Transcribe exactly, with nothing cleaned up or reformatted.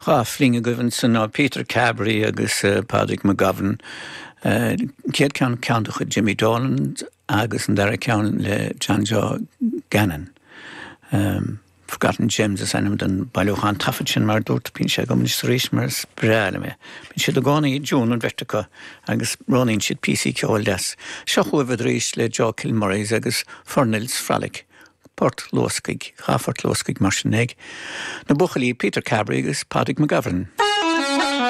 Dhá phling agaibh ansan ná Peter Carberry agus uh, Padraig McGovern. Uh, céad ceann ceann de chuid Jimmy Dolan agus an dara ceann le John Joe Gannon. Um, Forgotten Gems is ainm den bailiúchán taifead sin mar dúirt bíonn sé agam arís mar is breá liom é. Bíonn siad i gcónaí i dtiún an bheirt acu agus roghnaíonn siad píosaí ceoil deas. Seo chugaibh arís le Joe Kilmurrays agus Furnell's Frolic. Port luascaigh, dhá phort luascaigh mar sin ag. Na buachaillí Peter Carberry agus Padraig McGovern.